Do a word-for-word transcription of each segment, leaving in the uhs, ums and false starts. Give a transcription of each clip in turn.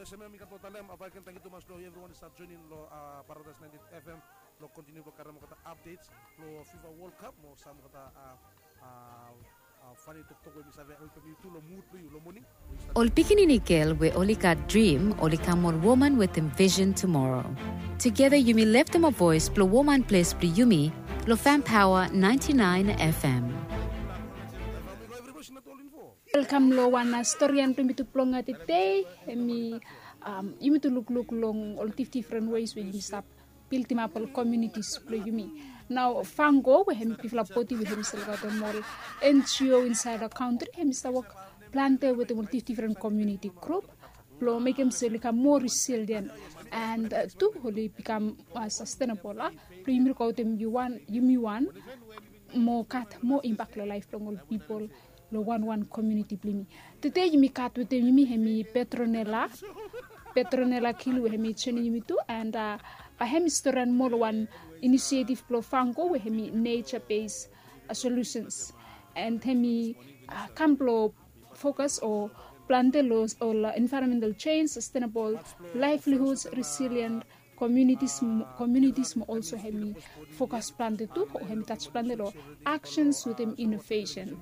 Yes, mi gat lo talem, a, baik, tangkiu tumas lo evriwan i stap joinim lo, a, Paradise ninety-eight F M, lo kontiniu blo karem olgeta updates lo FIFA World Cup mo sam olgeta, a, a, a, fani toktok we mi save helpem yu tu lo mud blo yu lo moning. Ol pikinini gel we oli gat drim oli kam ol woman wetem vision tumoro. Tugeta yumi leftem a voes blo woman ples blo yumi lo Fam Paoa ninety-nine F M. Welkam lo wan, a, storian blo yumi tu blong, a, tede. Hemi, am, yumi tu lukluk long ol dif-, difren ways we yumi stap bildimap ol komunitis blo yumi. Nao Vango we hemi bigfala bodi we hemi save gat ol N G O insaed lo kantri, hemi stap wok plante wetem ol dif-, difren komuniti grup blo mekem se oli kam moa resilient and, a, tu oli bikam, a, sastenabol, a, blo yumi lukaotem yumi wan, yumi wan mo gat moa impak lo laef blong ol pipol lo wanwan komuniti blo yumi. Tede yumi gat wetem yumi hemi Petronella, Petronella Kilu we hemi joinim yumi tu, and, a, bae hemi storian moa lo wan inisiatif blo Vango we hemi nature based, a, solutions, and hemi, a, kam blo fokas o plante lo ol, a, environmental change, sustainable livelihoods, resilient komunitis mo, komunitis mo olso hemi fokas plante tu o hemi tach plante lo actions wetem inovesen.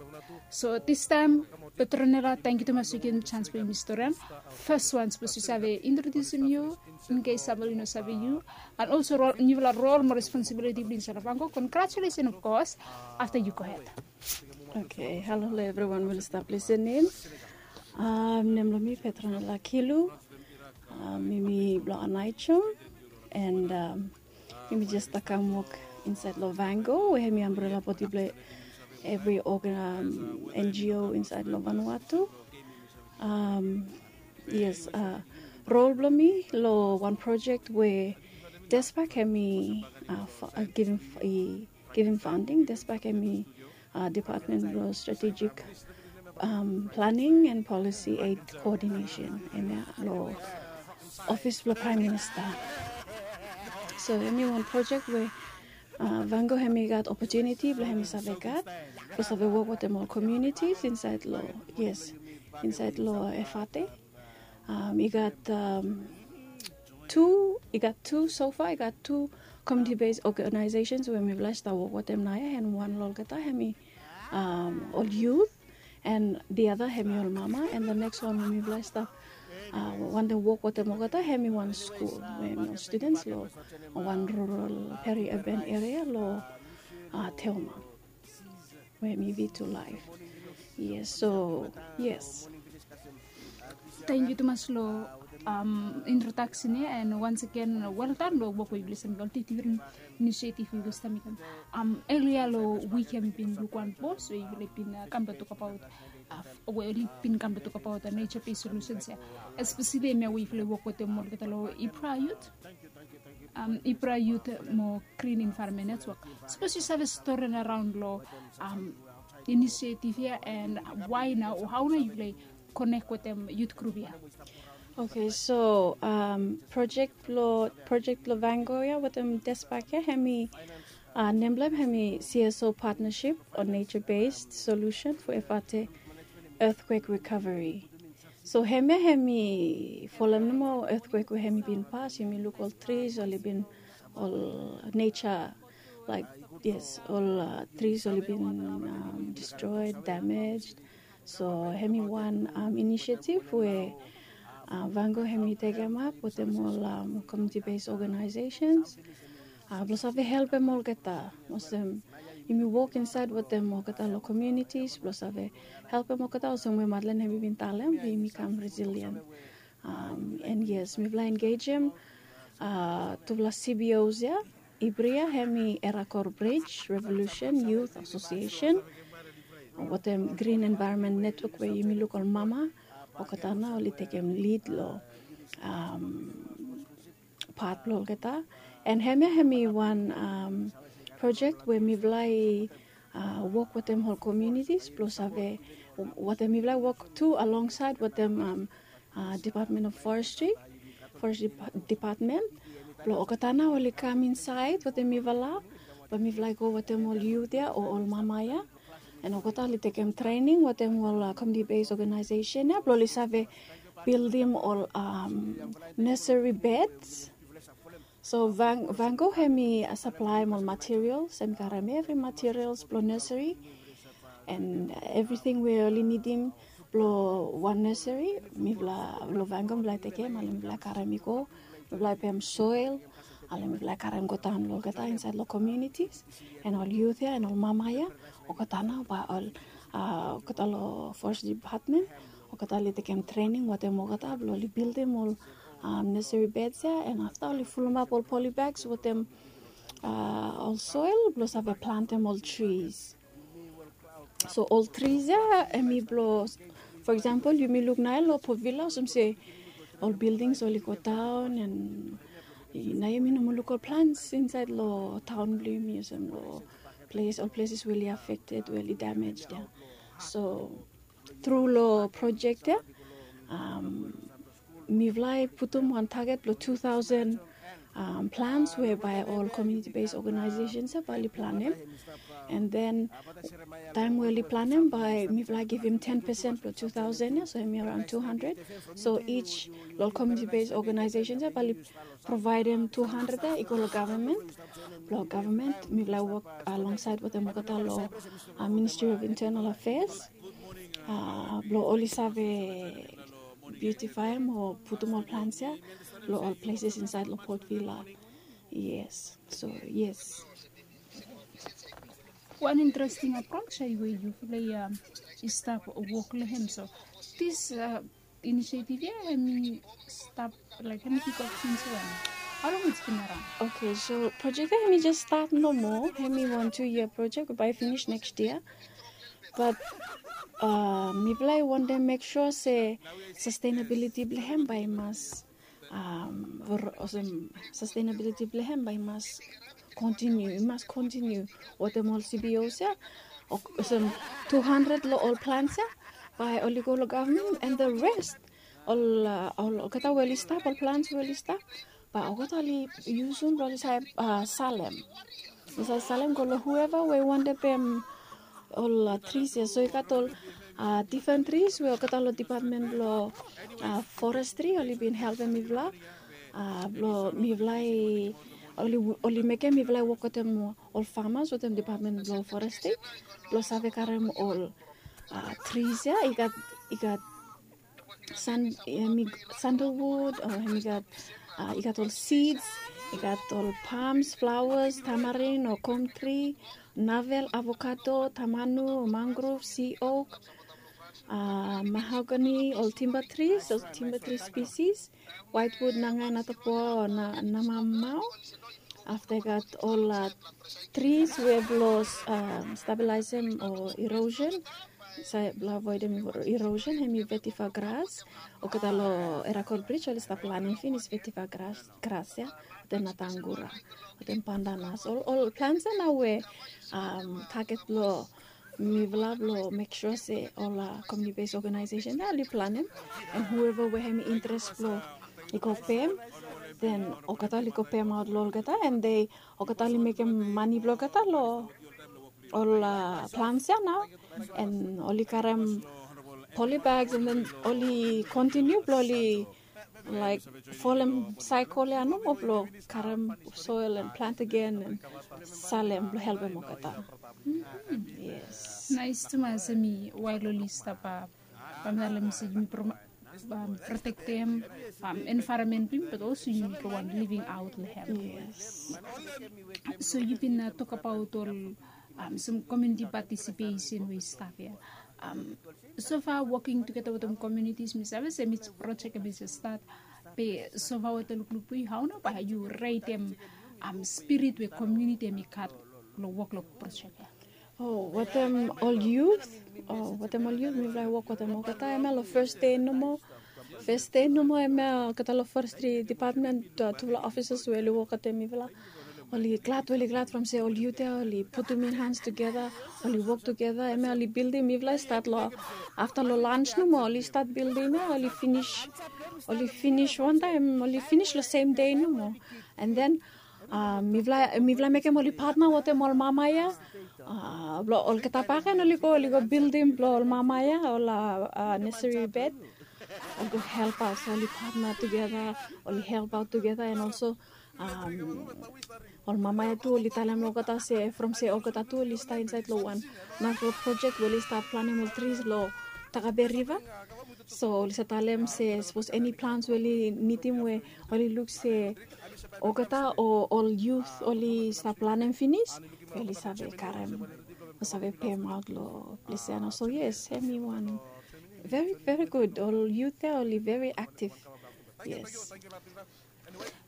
So distaem, Petronella, tangkiu tumas we yu givim jans blo yumi storian. Fes wan, sapos yu save introdiusim yu, in case samfala i no save yu, and olso rol, niufala rol mo responsibiliti blo yu insaed lo Vango. Congratulations, of course. Afta yu gohed. Oke, halo lo evriwan we oli stap lisenim. Am, nem blo mi Petronella Kilu. Am, mi mi blo Aneityum, and, am, mi mi jes stap kam wok insaed lo Vango we hemi ambrela bodi blo evri organ, am, N G O insaed lo Vanuatu. Am, yes, a, rol blo mi lo wan projek we DESPAC hemi, a, fa-, a, givim, i givim funding. DESPAC hemi, a, Department blo Strategic, am, Planning and Policy Aid Coordination, hemia lo ofis blo Praem Minista. So hemi wan projek we, a, Vango hemi gat opotuniti blo hemi save gat, blo save wok wetem ol komunitis insaed lo, yes, insaed lo Efate. Am, i gat, am, tu, i gat tu, so far i gat tu community based organizations we mifala i stap wok wetem naoia, and wan lo olgeta hemi, am, ol youth, and the other hemi ol mama, and the next wan we mifala i stap, a, wantem wok wetem olgeta hemi wan skul we hemi ol students lo wan rural, peri-urban area lo, a, Teoma we hemi V two Life. Yes, so, yes. Tangkiu tumas lo, am, introdaksen ia, and once again, well done lo wok we yufala i stap mekem, ol difren inisiatif we yufala i stap mekem. Am, elia lo wik ia mi bin luk wan pos we yufala i bin, a, kam blo tokbaot, a, we oli bin kam blo tokbaot, a, nature based solutions ia. Especially hemia we yufala i wok wetem olgeta lo IPRA Youth. Am, IPRA Youth mo Green Environment Network. Sapos yu save storian araon lo, am, inisiatif ia, and why nao, o hao nao yufala i konek wetem youth grup ia? Oke, so, am, projek blo, projek blo Vango ia wetem DESPAC ia hemi, a, nem blo hem hemi C S O Partnership on Nature Based Solution for Efate Earthquake Recovery. So hemia hemi folem nomo earthquake we hemi bin pas, yumi luk ol trees oli bin, ol nature, like, yes, ol, a, trees oli bin, am, destroyed, damaged. So hemi wan, am, inisiatif we, a, Vango hemi tekemap wetem ol, am, community based organizations, a, blo save helpem olgeta. Olsem yumi wok insaed wetem olgeta lo communities blo save helpem olgeta, olsem we Madeleine hemi bin talem, we yumi kam resilient. Am, and yes, mifala engejem, a, tufala C B Os ia. IBRI ia hemi Erakor Bridge Revolution Youth Association wetem Green Environment Network we yumi luk ol mama, olgeta nao oli tekem lid lo, am, pat blo olgeta. And hemia hemi wan, am, projek we mifala i, a, wok wetem ol komunitis blo save, wetem mifala i wok tu alongsaed wetem, am, a, Department of Forestry, Forestry Depa-, Department. Blo olgeta nao oli kam insaed wetem mifala, blo mifala i go wetem ol youth ia o ol mama ia. And olgeta oli tekem trening wetem ol, a, community based organization ia blo oli save bildim ol nursery beds. So Vango hemi saplaem ol materials, hemi karem evri materials blong nursery and evriting we oli nidim blong wan nursery. Mifala long Vango mifala tekem ale mifala karem i go. Mifala pem soil ale mifala karem go daon long olgeta insaed long communities. And ol youth ya and ol mama ya olgeta nao bae ol olgeta long forest department olgeta oli tekem trening wetem olgeta blong oli bildim ol nursery beds ya and afta oli fulumap ol polybags wetem ol soil blong save plantem ol trees. So ol trees ya hemi blong, for example yumi luk nae long Port Vila olsem se ol buildings oli go daon and nae yumi no moa luk ol plants insaed long taon blong yumi olsem long ples ol places we oli affected we oli damaged ya. So tru long project ya mifala i putum wan target blong two thousand plants we bae ol community based organizations ya bae oli planem. And then taem we oli planem bae mifala givim ten percent blong two thousand ya so hemi around two hundred. So each long ol community based organizations ya bae oli provaedem two hundred ya i go long gavman. Blong gavman mifala i wok alongsaed wetem olgeta long Ministry of Internal Affairs blong oli save biutifaem o putum ol plants ya long ol places insaed long Port Vila. Yes, so yes. Wan interesting approach ya we yufala i stap wok long hem. So this initiative ya hemi stap like hemi kick off since when? How long it's been around? Okay, so project ya hemi just start nomo. Hemi wan two year project we bae i finish next year. But mifala i wantem make sure se sustainability blong hem bae i mas olsem sustainability blong hem bae i mas continue, i mas continue wetem ol C B Os ya. Olsem two hundred long ol plants ya bae oli go long gavman and the rest ol olgeta we oli stap ol plants we oli stap bae olgeta oli yusum blong oli save salem. Oli save salem go long whoever we i wantem pem ol trees ya. So i gat ol different trees we olgeta long department blong forestry oli bin helpem mifala blong mifala i oli mekem mifala i wok wetem ol farmers wetem department blong forestry blong save karem ol trees ya. I gat i gat sandalwood o hemi gat i gat ol seeds, i gat ol palms, flowers, tamarin o gum tree, navel, avocado, tamanu o mangrove, sea oak, mahogany, ol timber trees, ol timber tree species, whitewood, nangai, natapoa o namamau. Afta i gat ol trees we blong stabilizem o erosion, save blong avoidem erosion hemi vetiver grass. Olgeta long Erakor Bridge oli stap planem finis vetiver grass ya, wetem natangura, wetem pandanus, ol plants ya nao we target blong mifala blong make sure se ol community based organization ya oli planem. And whoever we hemi interest blong i go pem, then olgeta oli go pemaot long olgeta and they olgeta oli mekem mane blong olgeta long ol plants ya nao. And oli karem polybags and then oli continue blong oli laek folem cycle ya nomo blong karem soil and plant again and salem blong helpem olgeta. Yes. Nais tumas hemi wael oli stap bamtale mi se yumi protektem environment blong yumi but also yumi go wan living out long hem. Yes. So yu bin tokbaot ol some community participation we i stap ya. So far working together wetem communities mi save se mi project hemi just start. Be so far wetem lukluk blong yu hao nao bae yu retem spirit we community hemi gat long wok long project ya? O wetem ol youth, o wetem ol youth mifala i wok wetem olgeta. Hemia long first day nomo. First day nomo hemia olgeta long forestry department, tufala officers we oli wok wetem mifala oli glad, oli glad from se ol youth ya oli putum in hands togeda, oli wok togeda. Hemia oli bildim, mifala i stat long afta long lunch nomo oli stat bildim ya, oli finis, oli finis wantaem, oli finis long sem dei nomo. And then mifala, mifala mekem oli patna wetem ol mama ya. Blong olgeta baken oli go, oli go bildim blong ol mama ya ol nursery bed. oli go help aot, so oli patna tugeta, oli help aot tugeta, and also um, ol mama ya tu oli talem long olgeta se from se olgeta tu oli stap insaed long wan narafala projek we oli stap planem ol tris long Takabe Riva. So oli stap talem se sapos eni plans we oli nidim we oli luk se olgeta o ol yut oli stap planem finis, oli save karem o save pemaot long ples ya nao. So yes, hemi wan very, very good. Ol yut ya oli very aktiv. Yes.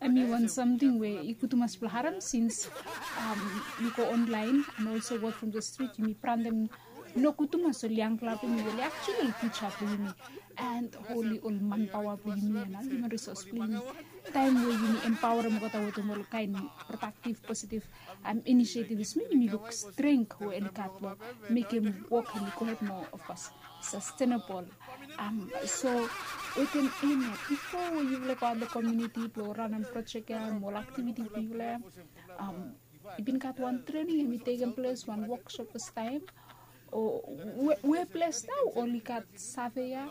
Hemi wan samting we i gud tumas blong harem since um, yu go online and also word from the street, yumi brantem nogud tumas ol yangpela blong yumi, oli actually ol future blong yumi, and oli ol manpaoa blong yumi, and ol human resource blong yumi. Taem we yumi empaorem olgeta wetem ol kaen productive, positive um, initiatives, mi yumi luk strength we oli gat long mekem wok hemi gohed mo, of course, sustainable. Um, so wetem hemia, bifo we yufala go aot long komuniti blong ranem projek ya mo ol aktiviti blong yufala ya, um, i bin gat wan trening hemi tekem ples, wan woksop fastaem, o we, we ples nao oli gat save ya?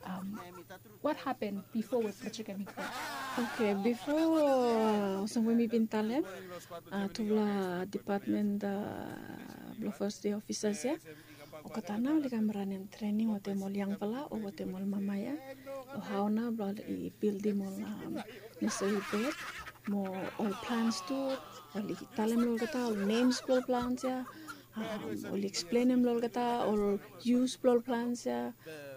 Um, what happened before we projek hemi go? Okay, bifo, uh, olsem we mi bin talem, uh, tufala dipatmen, uh, blong first day officers ya, olgeta nao oli kam ranem trening wetem ol yangfala o wetem ol mama ya, o hao nao blong oli bildim ol, um, nursery bed mo ol plants tu, oli talem long olgeta ol names blong ol plants ya, um, oli eksplenem long olgeta ol yus blong ol plants ya,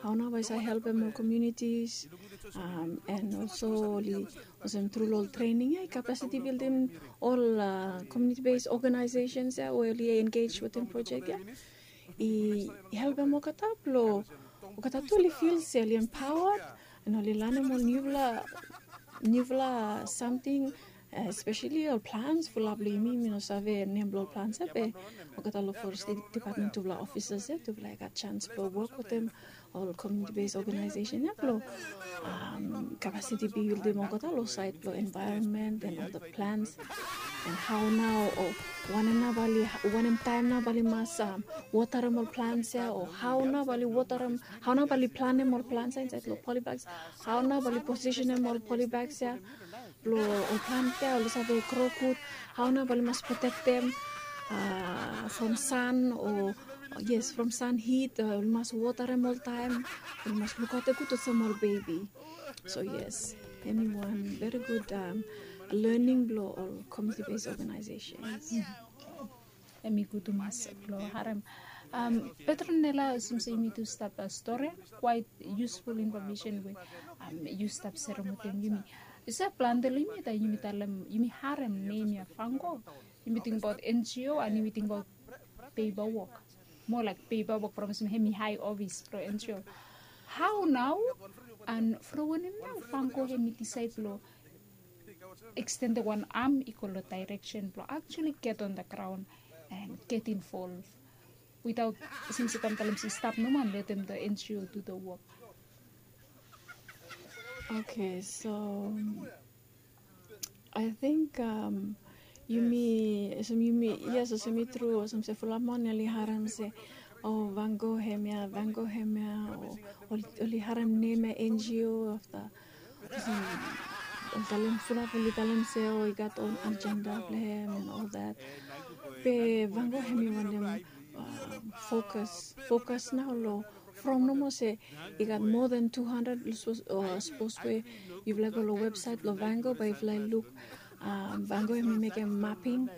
hao nao bae i save helpem ol communities, um, and also oli, olsem tru long ol trening ya, i capacity building ol, uh, community based organizations ya we oli engage wetem projek ya. I helpem olgeta blong olgeta tu oli fil se oli empowered, and oli lanem ol niufala, niufala samting, uh, especially ol plants. Fulap blong yumi, mi no save nem blong ol plants ya, be olgeta long forest department, tufala officers ya, tufala i gat chance blong wok wetem ol community based organization ya blong, um, capacity building olgeta long side blong environment and all the plants, and hao nao o wanem nao bae oli, wanem taem nao bae oli mas, um, waterem ol plants ya, o hao nao bae oli waterem, hao nao bae oli planem ol plants ya insaed long polybags, hao nao bae oli positionem ol polybags ya blong ol plant ya oli save gro gud, hao nao bae oli mas protektem, uh, from sun o, yes, from sun heat, uh, oli mas waterem oltaem, oli mas lukaotem gud olsem ol bebi. So yes, hemi wan very good, um, learning blong ol community based organizations. Hemi gud tumas blong harem. Um, Petronella, olsem se yumi tu stap, uh, stori, quite useful information we, um, yu stap serem wetem yumi. Yu save, plante long yumi taem yumi talem, yumi harem nem ya Vanco, yumi tingbaot N G O and yumi tingbaot paperwork. More like paperwork from olsem hemi hae ofis blong N G O. Hao nao and from wanem nao Vanco hemi disaed blong extended wan arm i go long direction blong actually get on the ground and get involved without, since i kam talem se stap nomo and letem the N G O do the work. Okay, so I think, um, yumi, olsem yumi, yes, olsem i tru, olsem se fulap man oli harem se, o, Vanco hemia, Vanco hemia, o, oli, oli harem nem ya N G O afta. Olsem, ol talem, fulap oli talem se, o, i gat own agenda blong hem and all that. Be Vanco hemi wantem, uh, fokus, fokus nao long from nomo se i gat more than two hundred, sapos, uh, sapos we yufala go long websaet blong Vanco, bae yufala luk, um, Vanco hemi mekem mapping,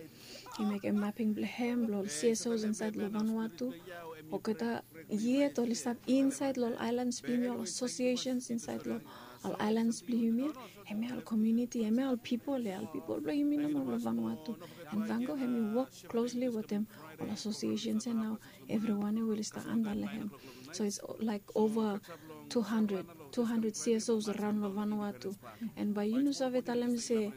i mekem mapping blong hem, blong ol C S Os insaed long Vanuatu. Olgeta yet oli stap insaed long ol aelans blong yumi, ol associations insaed long ol aelans blong yumi. Hemia ol community, hemia ol pipol ya, ol pipol blong yumi nomo long Vanuatu. And Vanco hemi wok closely wetem ol associations ya nao, evriwan ya we oli stap anda long hem. So it's like over two hundred, two hundred C S Os araon long Vanuatu. And bae yu no save talem se,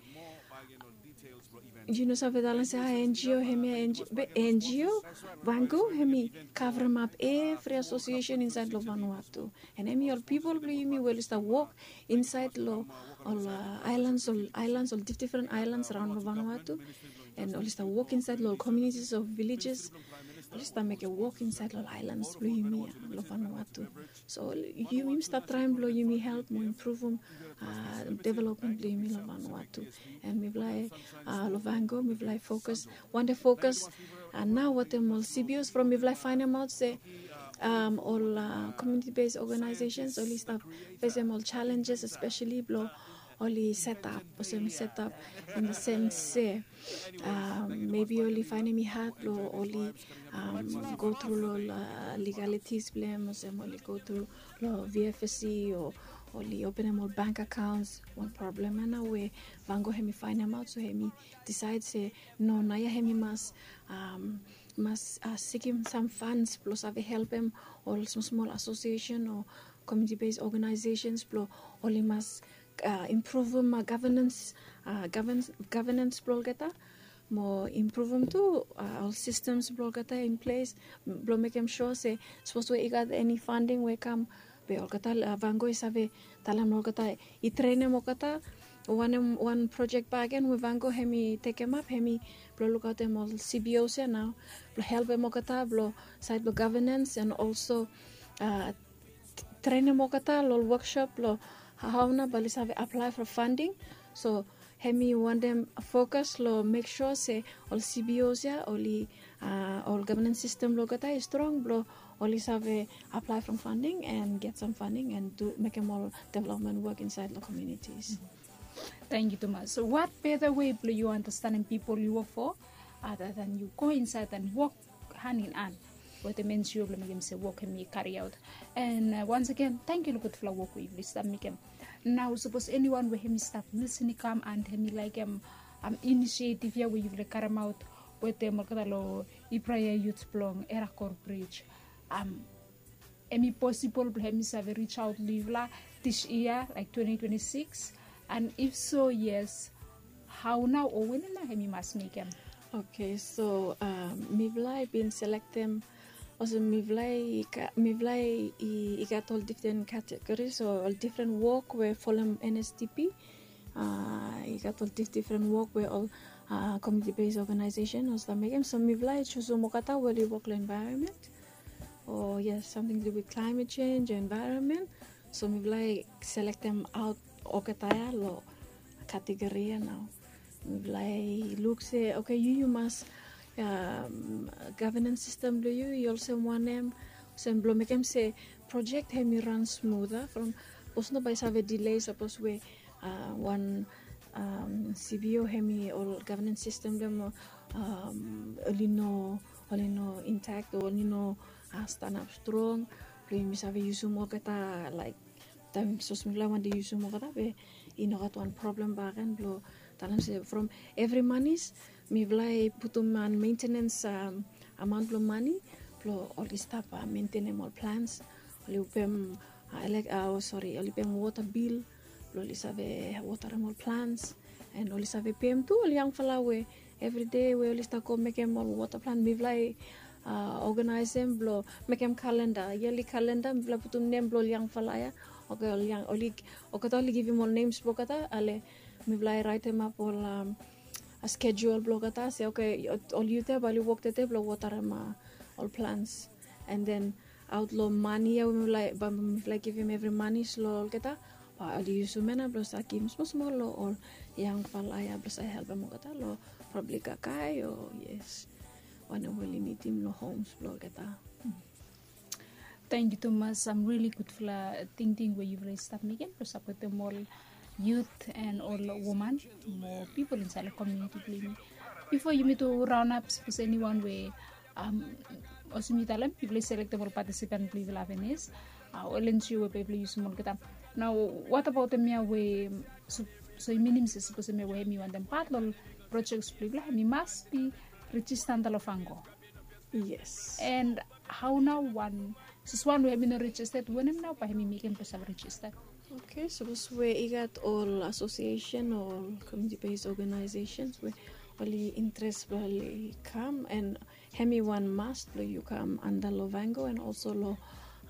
yu no save talem se, ah, N G O hemia, N G O, be N G O, Vanco hemi kavremap evri association insaed long Vanuatu. And hemi ol pipol blong yumi we oli stap wok insaed long ol, uh, aelans, ol aelans, ol dif-, difren aelans araon long Vanuatu. And oli stap wok insaed long ol communities of villages. oli stap mekem wok insaed long aelans blong yumi ya long Vanuatu. So yumi stap traem blong yumi help mo impruvum development blong yumi long Vanuatu. And mifala long Vango mifala fokus, wande fokus nao wetem ol C B Os from mifala faenemaot se ol community based organizations oli stap fesem ol challenges, especially blong oli setap olsem setap in the sense se maybe oli faenem i had blong oli go tru long ol legalities blong hem olsem oli go tru long V F S C o oli openem ol bank accounts. Wan problem ya nao we Vango hemi faenemaot, so hemi disaed se no, naoia hemi mas mas sikim sam funds blong save helpem ol smosmol association o community based organizations blong oli mas impruvum governance blong olgeta mo impruvum tu ol systems blong olgeta in ples blong mekem sua se sapos we i gat eni funding we i kam, be olgeta Vango i save talem long olgeta i trenem olgeta wanem wan projek bakegen we Vango hemi tekemap hemi blong lukaotem ol C B Os ya nao blong helpem olgeta blong saed blong governance and also trenem olgeta long ol woksop long hao nao bae oli save aplae for funding. So hemi wantem fokus long mek sua se ol C B Os ya oli ol governance system blong olgeta i strong blong oli save aplae from funding and get sam funding and mekem ol development wok insaed long communities. Tangkiu tumas. So wat beta wei blong yu andastanem pipol yu wok fo ada dan yu go insaed and wok han in an wetem N G O blong mekem se wok hemi kariaot. And wans agen tangkiu long gudfala wok we yufala i stap mekem. Nao sapos eniwan we hemi stap lisin i kam and hemi laekem inisiativ ya we yufala i karemaot wetem olgeta long Ibraya yut blong Erakor Bridge, hemi posibol blong hemi save risaot long yufala dis yia laek twenty twenty six? And if so, yes, hao nao o wanem nao hemi mas mekem? Okay, so mifala i bin selektem olsem mifala i gat ol difren categories o ol difren wok we folem N S D P. I gat ol difdifren wok we ol community based organization ol stap mekem. So mifala i jusum olgeta we oli wok long environment o yes, samting to do with climate change o environment. So mifala i selektem aot olgeta ya long category ya nao. Mifala i luk se okay, yu yu mas governance system blong yu i olsem wanem olsem blong mekem se projek hemi ran smut from sapos no bae i save delay sapos we wan C B O hemi ol governance system blong hem oli no oli no intact o oli no stanap strong blong yumi save yusum olgeta laek taem sapos mifala i wantem yusum olgeta be i no gat wan problem bakegen blong talem se from evri manis mifala i putum wan maintenance amaon blong mani blong oli stap mentenem ol plants, oli pem elek o sori oli pem wota bil blong oli save wotarem ol plants. And oli save pem tu ol yangfala we evride we oli stap go mekem ol wota plant mifala i oganaesem blong mekem kalenda, yali kalenda mifala putum nem blong ol yangfala ya. Oke, ol yang oli olgeta oli givim ol nems blong olgeta ale mifala i raetemap ol skedul blong olgeta se oke, ol yut ya bae oli wok tede blong wotarem ol plants. And then aot long mani ya we mifala i givim evri manis long olgeta bae oli yusum ya nao blong save givim smosmol long ol yangfala ya blong save helpem olgeta long probably kakae o yes, wanem we oli nidim long homes blong olgeta. Tangkiu tumas, sam rili gudfala tingting we yufala i stap mekem blong sapotem ol yut and ol woman mo pipol insaed long komuniti blong yumi. Bifo yumi tu raonap sapos eniwan we olsem yu talem yufala i selektem ol patisipan blong yufala avenis ol N G O we bae yufala yusum olgeta. Nao watabaot hemia we so i minim se sapos hemia we hemi wantem pat long ol projek blong yufala hemi mas bi rejista antap long Vango? Yes. And hao nao wan sapos wan we hemi no rejisted wanem nao bae hemi mekem blong save rejisted? Okay, sapos we i gat ol asosiesen o ol community based organizations we oli interes blong oli kam and hemi wan must blong yu kam antap long Vango and also long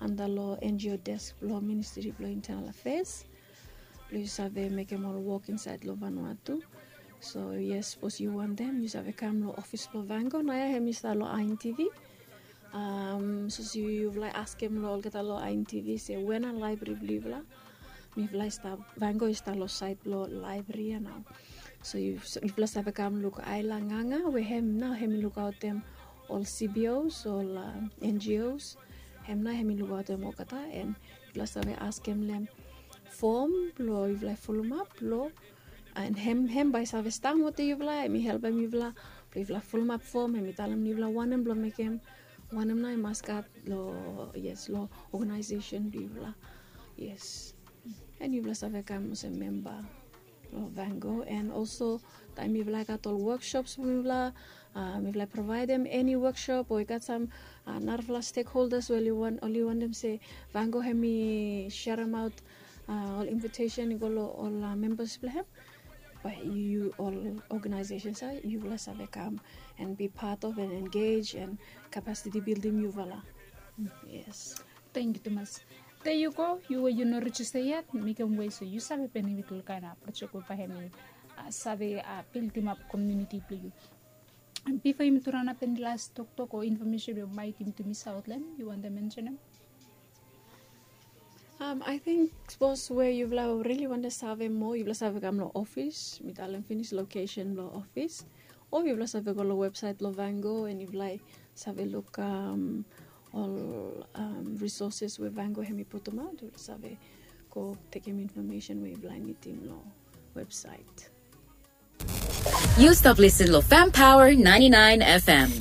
antap long N G O desk blong Ministri blong Internal Affairs blong yu save mekem ol wok insaed long Vanuatu. So yes, sapos yu wantem yu save kam long ofis blong Vango naoia hemi stap long I N T V. Um, so si yufala i askem lo olgeta lo INTV se wen a laebri blo yufala. Mifala i stap, Van Gogh i stap lo sait blo laebri ya nao. So yufala save kam luk Aila Nganga we hem nao hem i lukaotem ol CBOs, ol uh, NGOs. Hem nao hem i lukaotem olgeta, and yufala save askem lo hem fom blo yufala i fulumap blo, and hem hem bae i save stap wetem yufala, hem i helpem yufala blo yufala fulumap fom, hem i talem yufala wanem blo mekem, wanem nao i mas gat lo, yes, lo organization blo yufala. Yes. And yufala save kam olsem memba lo Van Gogh, and also taem mifala i gat ol workshops blo mifala, uh, mifala i provaedem eni workshop o i gat sam uh, narafala stakeholders we oli wan, oli wantem se Van Gogh hem i sharemaot uh, ol invitation i go lo ol uh, members blo hem. Bae yu ol organizations ya yufala save kam and be part of and engage and capacity building yufala. Yes. Thank you tumas. Te yu go, yu we yu no register yet, mekem we so yu save benefit lo kaen uh, project we bae hem i uh, save uh, building up community blo yu. Bifo yumi turanapen las toktok o information we maet yumi tu misaot lo hem, yu wantem mention hem? Um, I think sapos we yufala rili wantem save moa, yufala save kam lo ofis, mi talem finis location blo ofis. O yufala save go lo website blo Van Gogh, and yufala save luk um, ol um, resources we Van Gogh hem i putumaot, yufala save go tekem information we yufala nidim lo website. Yu stap listen lo Fam Power ninety-nine FM.